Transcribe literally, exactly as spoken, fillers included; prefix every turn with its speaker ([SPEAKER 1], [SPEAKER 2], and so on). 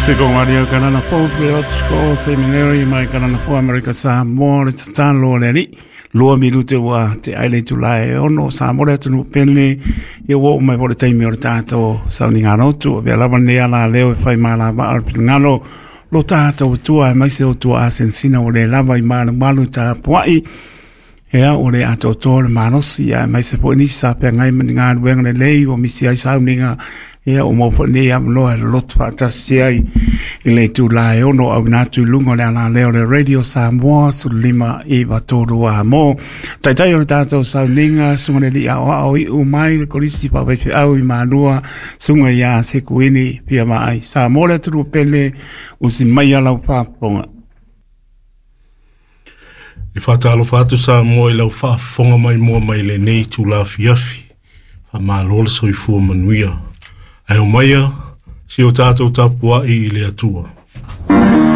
[SPEAKER 1] Sekongaria Kanana Fou Theological Seminary mai Kanana Fou Amerika Samoa le tatalo le alii lua minute ua te ai le itula e ono Samoa le atunuu pele ia ua oo mai foi le taimi o le tatou sauniga lotu avea lava lenei ala leo e fai malavaa o le finagalo lo tatou Atua aemaise o tua asenasina ua le lava i malumalu tapuai ia ua le atoatoa le malosi aemaise foi nisi sa feagai ma ni galuega lelei ua misi ai sauniga ia ua maua foi lenei avanoa e loloto faatasi ai i le itula e ono auina atu i luga o le alaleo o le Radio Samoa sefulu lima iva tolu a mo. Taitai o le tatou sauniga suga le alii aoao iu mai le kolisi faafaifeau i Malua suga ia Sekuini Fia Vaai. Samoa le atunuu pele usi mai lau faafofoga.
[SPEAKER 2] E faatalofa atu Samoa i lau faafofoga mai moa mai lenei itula afiafi. Faamalo le soifua manuia. Ae omaia si o tatou tapuai i le Atua.